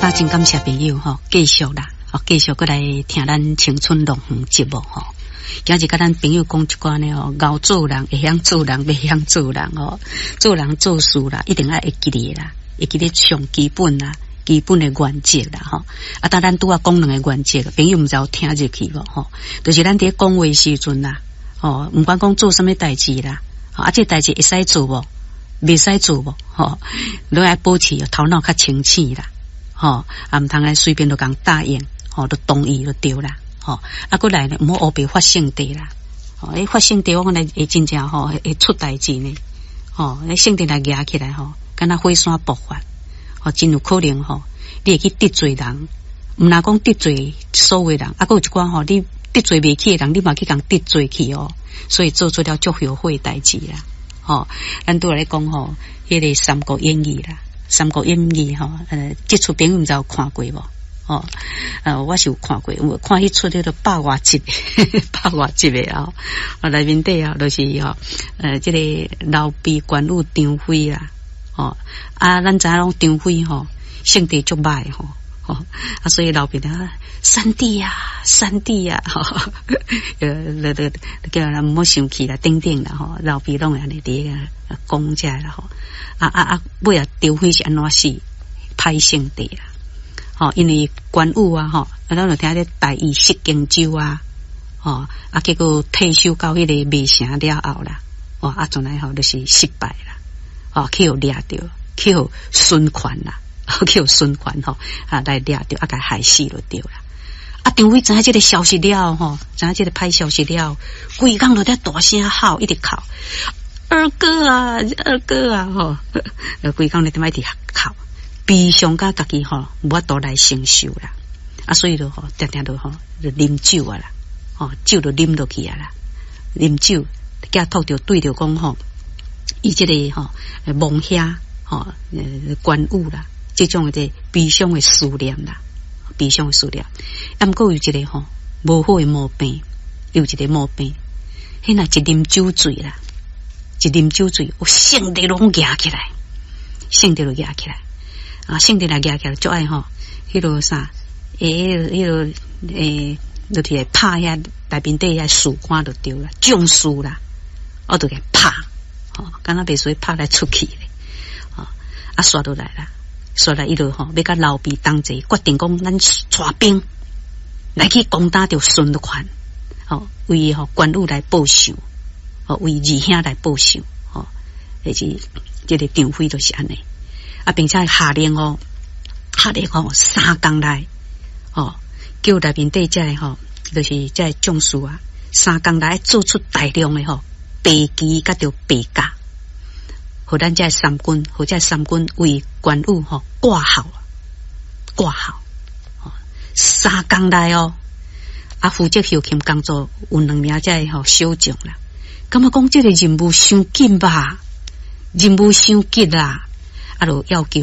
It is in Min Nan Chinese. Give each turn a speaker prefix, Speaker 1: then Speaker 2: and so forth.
Speaker 1: 啊，真感謝朋友吼，繼續啦，吼，繼續閣來聽咱青春樂園節目吼。今日佮咱朋友講一寡呢吼，𠢕做人會曉做人，袂曉做人吼，做人做事啦，一定愛會記得啦，會記得上基本啦，基本的原則啦吼。啊，當咱拄仔講兩個原則，朋友毋知有聽入去無吼？就是咱佇咧講話時陣啦，吼，毋管講做啥物代誌啦，啊，這代誌會使做無？袂使做無？吼，攏愛保持頭腦較清醒啦，吼，啊，毋通愛隨便就共答應，吼，就同意就對啦，吼，啊，閣來呢，毋好烏白發性地啦，吼，欸，發性地我講來會真正吼會出代誌呢，吼，欸，性地來夯起來吼，敢若火山爆發，吼，真有可能吼，你會去得罪人，毋若講得罪所有人，啊，閣有一寡吼，你得罪袂起的人，你嘛去共得罪去哦，所以做出了足後悔代誌啦。吼，咱拄仔咧講吼，彼個《三國演義》啦，《三國演義》吼，這齣朋友毋知有看過無？吼，我是有看過，有看彼齣彼個百外集，百外集的啊，啊，內面底啊，就是吼，這個劉備、關羽、張飛啦，吼，啊，咱知影講張飛吼，性地足歹吼，吼，啊，所以劉備啊，三弟啊，三弟啊，吼，那個叫人毋好生氣啦，等等啦，吼，劉備攏會按呢佇咧講這啦，吼，啊啊啊，尾仔張飛是按怎死？歹性地啦，吼，因為關羽啊，吼，啊，咱就聽咧大意失荊州啊，吼，啊，結果退守到彼個麥城了後啦，哦，啊，從來吼就是失敗啦，吼，去予掠著，去予孫權啦，去予孫權吼，啊，來掠著，啊，共害死就對啦。啊，張飛知影這個消息了吼，知影這個歹消息了，規工都佇大聲吼，一直哭，二哥啊，二哥啊，吼，規工咧點仔一直哭，悲傷甲家己吼無法度來承受啦。啊，所以就吼，定定都吼就啉酒啊啦，吼，酒就啉落去啊啦，啉酒，寄託著對著講吼，伊這個吼亡兄吼關羽啦，這種的悲傷的思念啦。悲傷的思念，啊，毋過有一個吼無好的毛病，有一個毛病，彼若一啉酒醉啦，一啉酒醉，有性地攏夯起來，性地就夯起來，啊，性地來夯起來，足愛吼，彼個啥，欸，彼個欸，就是會拍遐內面底遐士官就對啦，將士啦，我就共拍，吼，敢若袂使拍來出去咧，吼，啊，煞落來啦。煞來伊就吼，欲佮劉備同齊決定講，咱帶兵來去攻打著孫權，吼，為吼關羽來報仇，吼，為二兄來報仇，吼，就是這個張飛就是按呢，啊，並且下令哦，下令吼，三工內，吼，叫內面底這個吼，就是這個將士啊，三工內做出大量的吼白旗佮著白甲。予咱這三軍，予這三軍為關羽吼掛號，掛號，三工內哦，啊，負責後勤工作有兩名這個吼小將啦，感覺講這個任務傷緊吧，任務傷急啦，啊，就要求。